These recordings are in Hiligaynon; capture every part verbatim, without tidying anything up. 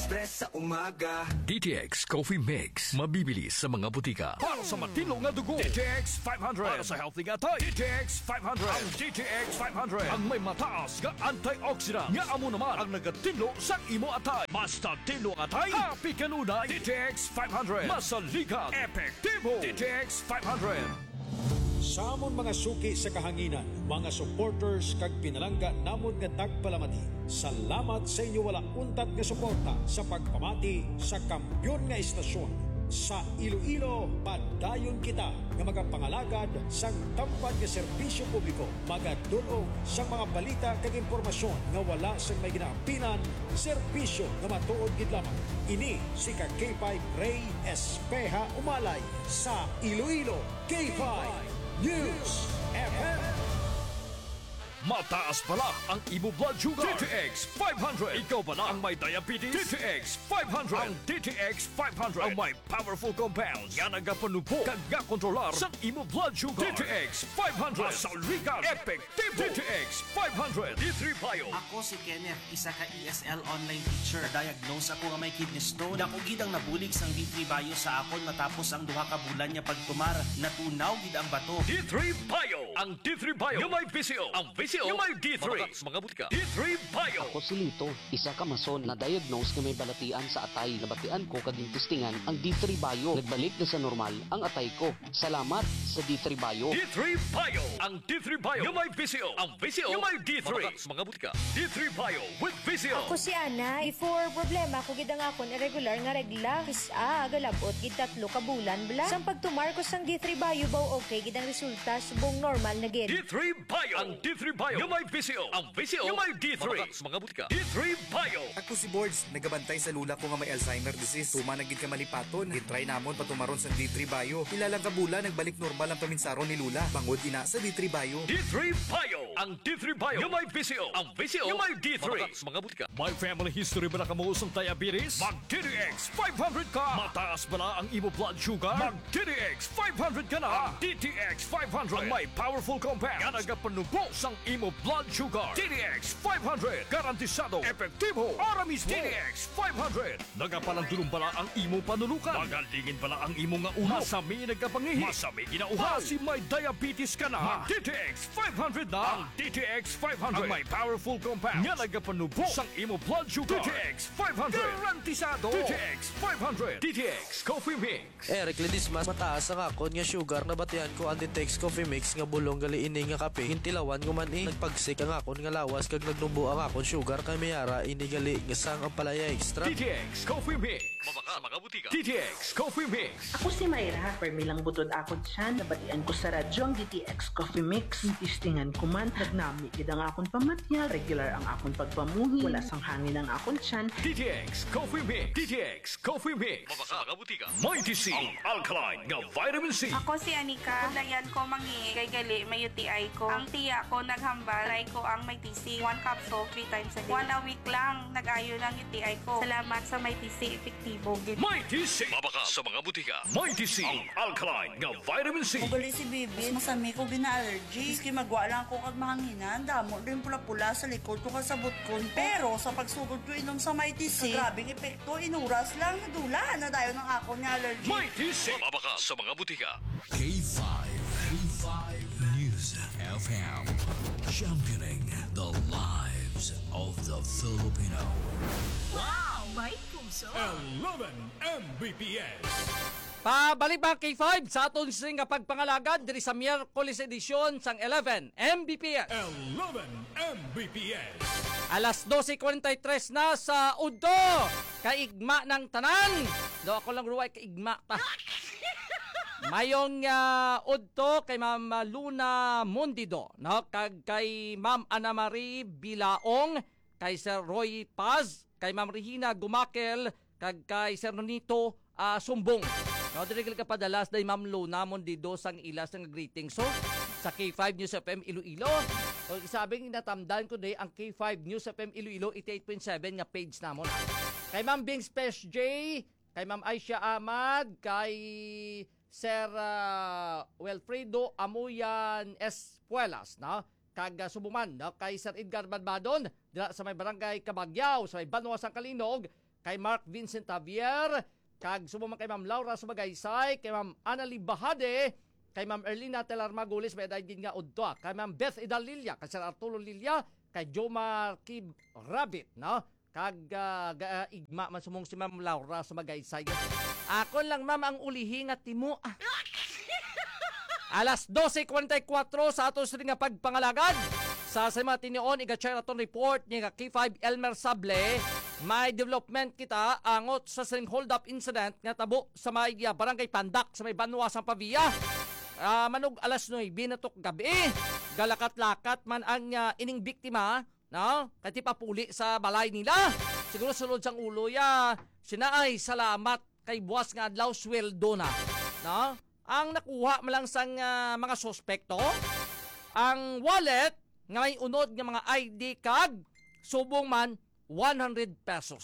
Express sa umaga. D T X Coffee Mix, mabibili sa mga butika. Para sa matinlo nga dugo, D T X five hundred. Para sa healthy nga atay, D T X five hundred. Ang D T X five hundred ang may mataas nga antioxidant, nga amo naman ang nagatinlo sa imo atay. Mas tinlo ang atay, happy kanunay. D T X five hundred, masaligan, epektibo. D T X five hundred. Sa amon mga suki sa kahanginan, mga supporters kag pinalangga namon nga tagpalamati, salamat sa inyo wala untat nga suporta sa pagpamati sa kampiyon nga estasyon. Sa Iloilo, padayon kita nga magapangalagad sang tampad nga serbisyo publiko, magadul-ong sang mga balita kag impormasyon nga wala sang may ginaapinan, serbisyo nga matuod gid lamang. Ini si ka K five Ray Espeha Umalay sa Iloilo. K five News F M. Mataas bala ang imo blood sugar? D T X five hundred. Ikaw bala ang may diabetes? D T X five hundred. Ang D T X five hundred ang may powerful compounds nga nagapanubo kag nga kontrolar sa imo blood sugar. D T X five hundred. Masaligan, epektibo. D T X five hundred. D three Bio. Ako si Kenneth, isa ka E S L online teacher. Na-diagnose ako nga may kidney stone. Dako gid ang nabulig sang D three Bio sa akon matapos ang duha ka bulan nga pagtumar. Natunaw gid ang bato. D three Bio. Ang D three Bio nga may V C O. Ang V C O nga may D three. Mabakal sa mga butika. D three Bio. Ako si Lito, isa ka mason na diagnose nga may balatian sa atay. Nabatian ko kag testingan ang D three Bio. Nagbalik na sa normal ang atay ko. Salamat sa D three Bio. D three Bio. Ang D three Bio nga may V C O. Ang V C O nga may D three. Mabakal sa mga butika. D three Bio with V C O. Ako si Ana. Before, problema ko gid ang akon irregular nga regla. Kis-a, galabot gid tatlo ka bulan bala. Sang pagtumar ko sang D three Bio, baw okay gid ang resulta, subong normal na gid. D three Bio. Ang D three Bio nga may V C O. Ang V C O nga may D three. Mabakal sa mga butika. D three Bio. Ako si Bords, nagabantay sa lula ko nga may Alzheimer disease. Tuman na gid ka malipaton. Gintry namon patumaron sa D three Bio. Pila lang ka bulan, nagbalik normal ang paminsaron ni lula. Bangod ina sa D three Bio. D three Bio. Ang D three Bio nga may V C O. Ang V C O nga may D three. Mabakal sa mga butika. May family history bala kamo sang diabetes? Mag D T X five hundred ka. Mataas bala ang imo blood sugar? Mag D T X five hundred ka na. Ang D T X five hundred ang may powerful compound nga nagapanubo sang imo blood sugar. D T X five hundred, garantisado, epektibo, ara mismo. D T X five hundred. Nagapalandulong bala ang imo panulukan? Magalingin bala ang imo nga ulo? Masami nagkapangihi? Masami ginauhaw? Basi may diabetes ka na? Mag D T X five hundred na. Ang D T X five hundred ang may powerful compound nga nagapanubo sang imo blood sugar. D T X five hundred. Garantisado. D T X five hundred. D T X Coffee Mix. Eric Ledesma, mataas ang akon nga sugar. Nabatian ko ang D T X Coffee Mix nga bulong gali ini nga kape. Gintilawan ko man, eh, nagpagsik ang akon nga lawas kag nagnubo ang akon sugar, kay may ara ini gali nga sang Ampalaya Extra. D T X Coffee Mix. Mabakal sa mga butika. D T X Coffee Mix. Ako si Myra. Permi lang butod akon tiyan. Nabatian ko sa radyo ang D T X Coffee Mix. Testingan ko man, nagnami gid ang akon pamatiag. Regular ang akon pagpamuhi. Wala sang hangin ang akon tiyan. D T X Coffee Mix. D T X Coffee Mix. Mabakal sa mga butika. Mighty C, ang alkaline nga vitamin C. Ako si Anika. Pudlayan ko mangihi kay gali may U T I ko. Ang tiya ko naghambal, try ko ang Mighty C. One capsule, three times a day. One a week lang, nag-ayo na ang U T I ko. Salamat sa Mighty C, epektibo gid. Mighty C. Mabakal sa mga butika. Mighty C, ang alkaline nga vitamin C. Ugali si Bibi, masami ko gina-allergy. Miski magwa lang ako kag mahanginan, damo din pula-pula sa likod ko kag sa butkon ko. Pero sa pagsugod ko inom sa Mighty C, grabing epekto, inuras lang, nadula na dayon ang akon nga allergy. Mighty C. Mabakal sa mga butika. K five, K five News F M, championing the lives of the Filipino. Wow! May puso! Eleven M B P S. Pabalik, mga K five, sa aton sini nga pagpangalagad diri sa Miyerkules edisyon sang eleven M B P S. Eleven M B P S. Alas dose cuarenta y tres na sa udto. Kaigma ng tanan. Do ako lang ruway kaigma ta. Mayong, ah, udto kay Ma'am Luna Mondido, no? Kag kay Ma'am Ana Marie Bilaong, kay Sir Roy Paz, kay Ma'am Regina Gumakel, kag kay Sir Nonito, ah, Sumbong. No, diri ka padalas day Ma'am Luna Mondido sang ila sang greeting. So, sa K five News F M Iloilo. So, isabing natamdan ko day ang K five News F M Iloilo eighty-eight point seven nga page namon. Kay Ma'am Bing Special J, kay Ma'am Aisha Ahmad, kay Sir, ah, Wilfredo Amuyan Espuelas, no? Kag, ah, subo man, no? Kay Sir Edgar Badbadon, dira sa may barangay Kabagyaw, sa may Banwa sang Kalinog, kay Mark Vincent Javier, kag subong man kay Ma'am Laura Sumagaysay, kay Ma'am Annalie Bahade, kay Ma'am Erlina Telar Magulis, may edad gid nga udto, ah, kay Ma'am Beth Idalilia, kay Sir Arturo Lilia, kay Jomar Kib Rabbit, no? Kag, ah, ga-, igma man sumong si Ma'am Laura Sumagaysay. Akon lang, ma'am, ang ulihi nga timo, ah. Alas dose cuarenta y cuatro sa aton sini nga pagpangalagad. Sa, sa mga tinion, iga-share aton report ni ka K five Elmer Sable. May development kita angot sa sining hold-up incident nga tabo sa may, ah, Barangay Pandak sa may Banwa sang Pavia. Ah, manug alas nuebe na to gabi. Galakat-lakat man ang, ah, ining biktima, no? Kay ti papuli sa balay nila. Siguro sulod sang ulo ya, sina ay salamat kay buwas nga adlaw sweldo na, no? Ang nakuha man lang sang, ah, mga suspekto, ang wallet nga may unod nga mga I D kag subong man one hundred pesos.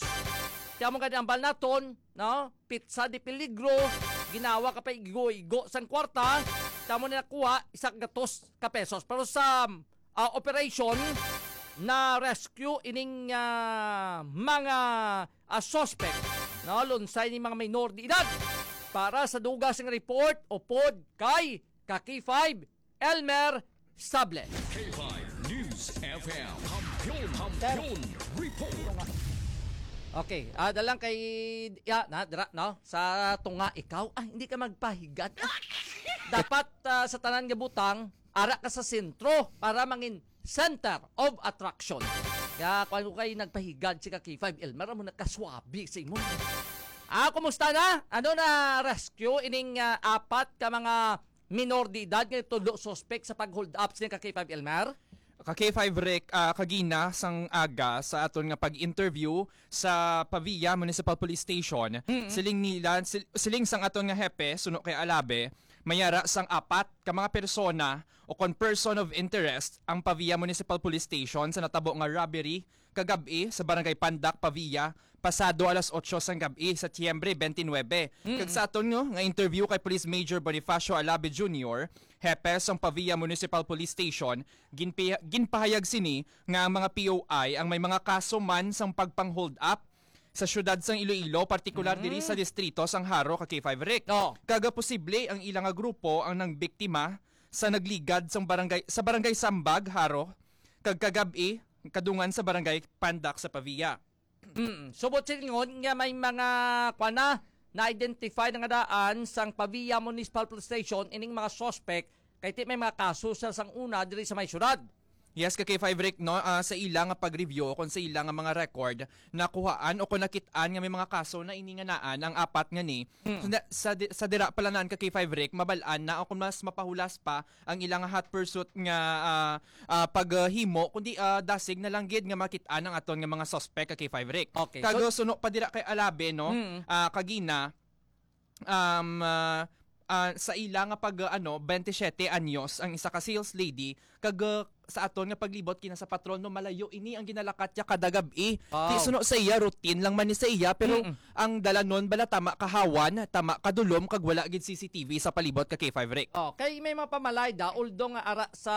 Kaya mo gani ang bal naton, no? Pitsa de peligro, ginawa ka pa igo-igo sang kwarta, tamo na nakuha isa ka gatos ka pesos. Pero sa, ah, operation, na rescue ining, ah, mga, ah, suspect, no? Lunsay ni mga minor de edad. Para sa dugang sing report, upod kay ka K five Elmer Sable. K five News F M. Kampiyon, Kampiyon Report. Okay, ah, dalang kay, ya, na, dira, no? Sa tunga ikaw, ah, hindi ka magpahigad. Ah, dapat, ah, sa tanan nga butang, ara ka sa sentro para mangin center of attraction. Kaya kung ano kay nagpahigad si ka K five Elmer, amo nakaswabi sa imo. Ah, kumusta na? Ano na rescue ining, ah, apat ka mga minor de edad nga tudlo suspect sa pag-hold up sini ka K five Elmer? Ka K five Rick, ah, kagina sang aga sa aton nga pag-interview sa Pavia Municipal Police Station, Mm-mm. siling nila, sil-, siling sang aton nga hepe, suno kay Alabe, mayara sang apat ka mga persona o kon person of interest ang Pavia Municipal Police Station sa natabo nga robbery kagab-i sa Barangay Pandak, Pavia, pasado alas otso sang gab-i sa Tiyembre twenty-nine. Mm. Kag sa aton nga, nga interview kay Police Major Bonifacio Alabe Junior, hepe sang Pavia Municipal Police Station, ginpi-, ginpahayag sini nga ang mga P O I ang may mga kaso man sang pagpang-hold up sa siyudad sang Iloilo, partikular Mm. diri sa distrito sang Jaro, ka K five Rick. Oh. Kag posible ang ila nga grupo ang nangbiktima sa nagligad sang barangay, sa barangay Sambag, Jaro, kag kagab-i, kadungan sa barangay Pandak sa Pavia. Mm. Subot silingon nga may mga, kuwan na, na-identify na nga daan sang Pavia Municipal Police Station ining mga suspect kay ti may mga kaso sa sang una diri sa may syudad. Yes, ka K five Rick, no? Ah, sa ila nga pag-review o kung sa ila nga mga record, nakuhaan o kung nakit-an nga may mga kaso na ini nga naan ang apat nga ni. Mm. So, na, sa, di- sa dira pala naan ka K five Rick, mabal-an na o kung mas mapahulas pa ang ila nga hot pursuit nga, ah, ah, paghimo, kundi, ah, dasig na lang gid nga makit-an ang aton nga mga suspect ka K five Rick. Okay, Kag so suno pa dira kay Alabe, no? Mm. Ah, kagina, um, ah, ah, sa ila nga pag, ah, ano, twenty-seven anyos ang isa ka sales lady, kag, ah, sa aton nga paglibot kina sa patron, no, malayo ini ang ginalakat niya kada gab-i. Wow. Di suno sa iya, routine lang man ni sa iya, pero Mm-mm. ang dalanon bala tama kahawan, tama kadulom, kag wala gid C C T V sa palibot ka K five Rick. Oh, kay may mga pamalay da, although nga ara sa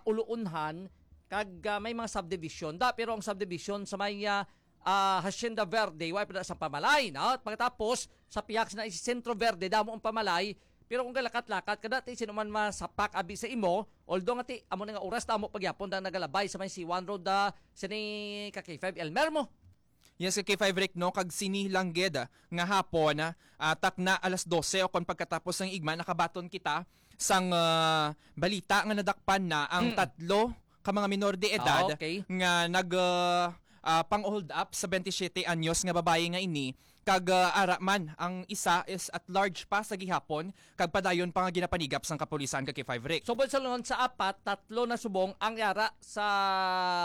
Uluunhan, kag, ah, may mga subdivision da, pero ang subdivision sa may, ah, ah, Hacienda Verde, wa pa na sa pamalay, no? Pagkatapos, sa pihak na si Centro Verde, damo ang pamalay, pero kung galakat-lakat ka dati, sino man masapak abi sa imo, although nga ti, amo na nga oras, damo pagyapon na nagalabay sa may C one Road, ah, sini ka K five Elmer mo. Yes, ka K five Rick, no? Kag sini lang gid, ah, nga hapon, ah, ah, takna alas dose o kon pagkatapos sang igma, nakabaton kita sang, ah, balita nga nadakpan na ang Mm. tatlo ka mga minor de edad Ah, okay. nga nag, ah, ah, pang-hold up sa twenty-seven anyos nga babayi nga ini, kag, ah, ara man ang isa is at large pa sa gihapon kag padayon pa nga ginapanigap sang kapulisan ka K five Rick. So, sa lungon sa apat, tatlo na subong ang yara sa,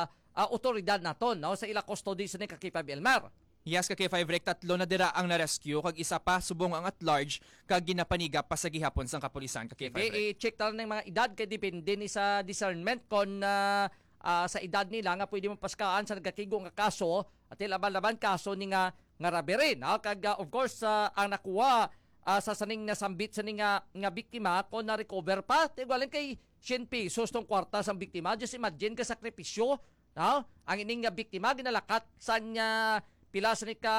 ah, otoridad naton, no, sa ila custody sa ni ka K five Elmer. Yes, ka K five Rick, tatlo na dira ang na-rescue, kag isa pa subong ang at large, kag ginapanigap pa sa gihapon sang kapulisan ka Sige, K five Rick. I-check ta lang ang mga edad kay depende ni sa discernment kon, ah, ah, sa edad nila nga pwede mapaskaan sa nagkakigo nga kaso, at laban-laban kaso ni nga, nga robbery, no? Kag, ah, of course, ah, ang nakuha, ah, sa saning nasambit sa ni nga, nga biktima, kung na-recover pa, tigualan kay cien pesos tong kwarta sang biktima. Just imagine ka sakripisyo, no? Ang ining nga biktima, ginalakat sa nga pila sa ni ka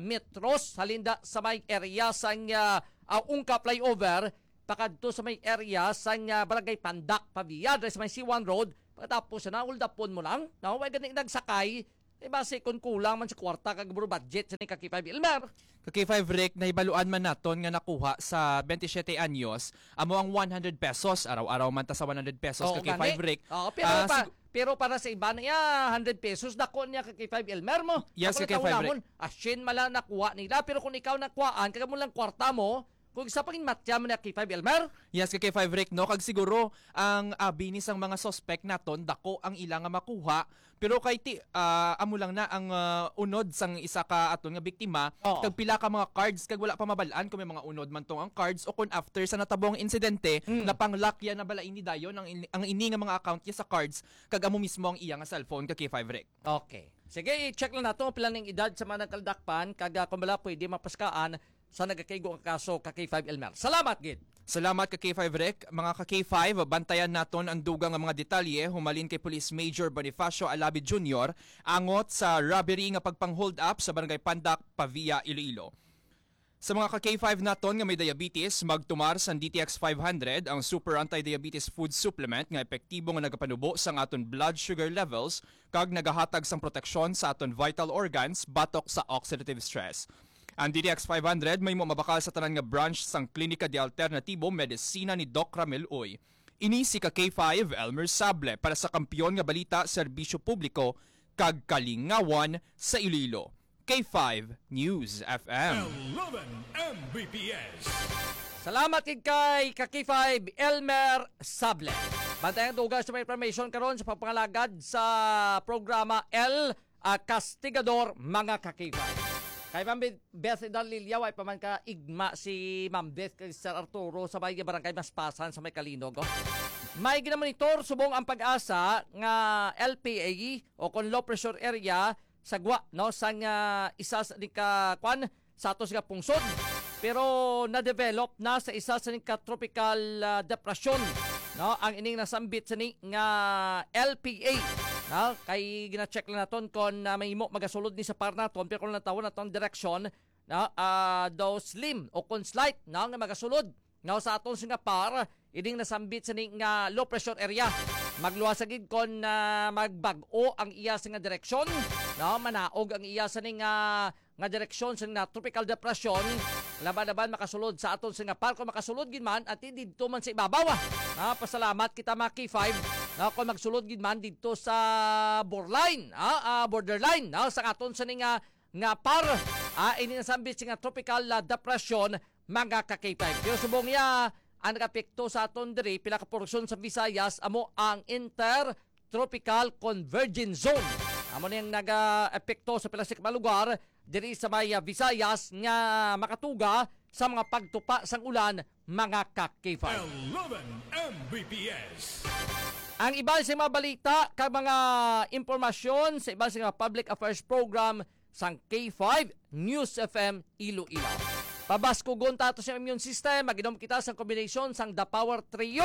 metros, halin da sa may area sang, ah, ah, Ungka Flyover, pakadto sa may area sang, ah, Barangay Pandak, Pavia, diri sa may C one Road, pagkatapos na, uldapon mo lang, no? Way gani nagsakay, eh, basi kung kulang man sa kwarta kag buro budget sa ni ka K five Elmer. Ka K five Rick, nahibaluan man naton nga nakuha sa twenty-seven anyos, amo ang one hundred pesos. Araw-araw man ta sa one hundred pesos, Oo, ka K five gani. Rick. Oo, pero Ah, pa-, sig- pero para sa iba na iya, hundred pesos, dako niya ka K five Elmer mo. Yes, Ako ka K five natawa Rick. namon, asin mala nakuha nila, pero kung ikaw nakuhaan, kag mo lang kwarta mo, kung isa pang matya mo na K five Elmer? Yes, ka K five Rick, no? Kag siguro, ang abi ni sang mga suspect naton, dako ang ila nga makuha, pero kay ti, ah, amo lang na ang, ah, unod sang isa ka aton nga biktima, Oo. kag pila ka mga cards, kag wala pa mabal-an kung may mga unod man tong ang cards o kung after sa natabong insidente, Mm. napang-lock ya na bala ini dayon ang ini, ang ini nga mga account niya sa cards, kag amo mismo ang iya nga cellphone, ka K five Rick. Okay. Sige, i-check lang nato ang pila ning edad sa mga nagkaldakpan, kag, ah, kung bala pwede mapaskaan sa nagakaigo nga kaso, ka K five Elmer. Salamat gid. Salamat, ka K five Rick. Mga ka K five, bantayan naton ang dugang nga mga detalye humalin kay Police Major Bonifacio Alabi Junior angot sa robbery nga pagpang-hold up sa Barangay Pandak, Pavia, Iloilo. Sa mga ka K five naton nga may diabetes, magtumar sang D T X five hundred, ang super anti-diabetes food supplement nga epektibo nga nagapanubo sang aton blood sugar levels kag nagahatag sang proteksyon sa aton vital organs batok sa oxidative stress. Ang D T X five hundred mahimo mabakal sa tanan nga branch sang Klinika de Alternatibo Medisina ni Doc Ramil Uy. Ini si ka K five Elmer Sable para sa Kampiyon nga Balita, Serbisyo Publiko, kag Kalingawan sa Iloilo. K five News F M. Eleven M B P S. Salamat gid kay ka K five Elmer Sable. Bantayan ang dugang sa mga information karon sa pagpangalagad sa programa El, ah, Castigador, mga ka K five. Kay Ma'am Beth Idal Lilia, way pa man ka igma si Ma'am Beth kay Sir Arturo sa may barangay Maspasan sa may Kalinog, oh. May ginamonitor subong ang PAGASA nga L P A o kon low pressure area sa gwa, no, sang, ah, isa sa di ka, kwan, sa ato nga pungsod. Pero na-develop na sa isa sa ni ka tropical, ah, depresyon, no, ang ining nasambit sa ni nga L P A, no? Kay gina-check lang naton kon, ah, mahimo magasulod ni sa par naton, pero kung natawon naton direksyon, no, ah, daw slim o kon slight, no, nga magasulod. Nga sa aton sing nga par, ining nasambit sa ni nga low pressure area. Magluwas sa gid kon, ah, magbag-o ang iya sing nga direksyon, no? Manaog ang iya sa ni nga, nga direksyon sa ni nga tropical depression. Laban-laban makasulod sa aton sing nga par, kung makasulod gid man, at didto man sa ibabaw, ah. Ah, pasalamat kita, mga K five, no? Kung magsulod gid man didto sa borderline, ah, ah, borderline, no? Sa aton sa ni nga, nga par, ah, ini nasambit sing nga tropical, ah, depression, mga ka K five. Pero subong niya, ang nag-apekto sa aton diri, pila ka porsyon sa Visayas, amo ang Intertropical Convergence Zone. Amo ni ang nag-apekto sa pila sa mga lugar diri sa may, ah, Visayas nga makatuga sa mga pagtupa sang ulan, mga ka K five. Eleven M B P S. Ang iban sa mga balita kag mga impormasyon sa iban sa mga public affairs program sang K five News F M Iloilo. Pabaskugon ta ato sa immune system, mag-inom kita sang kombinasyon sang The Power Trio.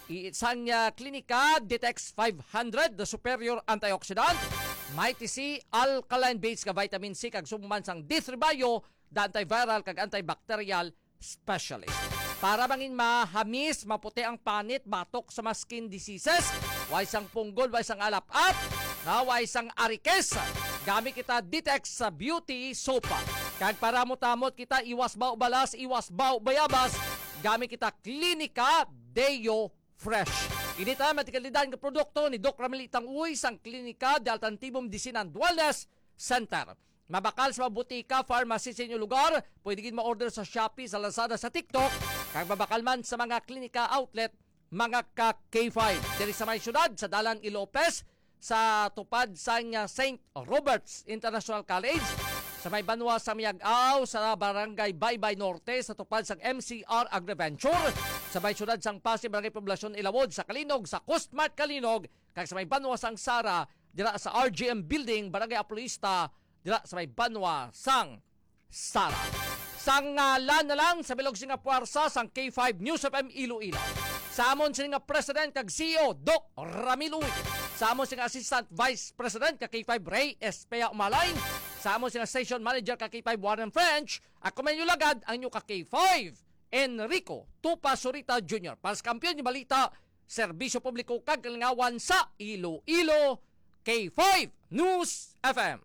I-, sang, ah, Klinika Ditex five hundred, the superior antioxidant, Mighty C, alkaline base nga vitamin C, kag subong man sang D three Bio, the antiviral kag antibacterial specialist. Para bangin mahamis, maputi ang panit, batok sa mga skin diseases, way sang punggol, way sang alap-ap, na way sang arikes. Gamit kita Ditex sa Beauty Soap. Kag para mutamot kita, iwas baw balas, iwas baw bayabas, gamit kita Klinika Deo Fresh. Ini ta matikalidad nga produkto ni Doc Ramil Itang Uy sang Klinika de Alternativo Medicina and Wellness Center. Mabakal sa mga butika, pharmacy sa inyo lugar. Pwede gid ma-order sa Shopee, sa Lazada, sa TikTok. Kag mabakal man sa mga klinika outlet, mga ka K five. Diri sa may syudad, sa Dalan Ilopez, sa tupad sang, ah, Saint Robert's International College, sa may banwa sa Miag-aw, sa Barangay Baybay Norte, sa tupad sang M C R Agriventure, sa may syudad sang Passi, Barangay Poblacion Ilawod, sa Kalinog, sa Coast Mart Kalinog, kag sa may banwa sang Sara, dira sa R G M Building, Barangay Apolista, dira sa may banwa sang Sara. Sa ngalan na lang sa bilog sing nga puwersa sang K five News F M Iloilo. Sa amon sini nga President kag C E O, Doc Ramil Uy. Sa amon sini nga Assistant Vice President kag K five Ray Espea Umalay. Sa amo sila station manager ka K five Warren French, ako man yung lagad ang inyo ka K five, Enrico Tupa Surita Junior. Para sa Kampiyon nga Balita, Serbisyo Publiko kag Kalingawan sa Iloilo, K five News F M.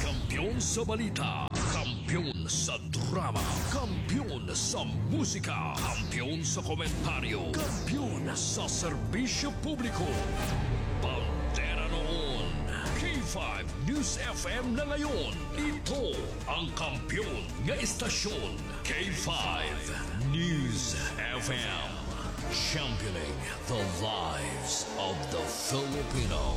Kampiyon sa balita, kampiyon sa drama, kampiyon sa musika, kampiyon sa komentaryo, kampiyon sa serbisyo publiko. Bandera noon, K five News F M na ngayon. Ito ang kampiyon nga istasyon, K five News F M. Championing the lives of the Filipino.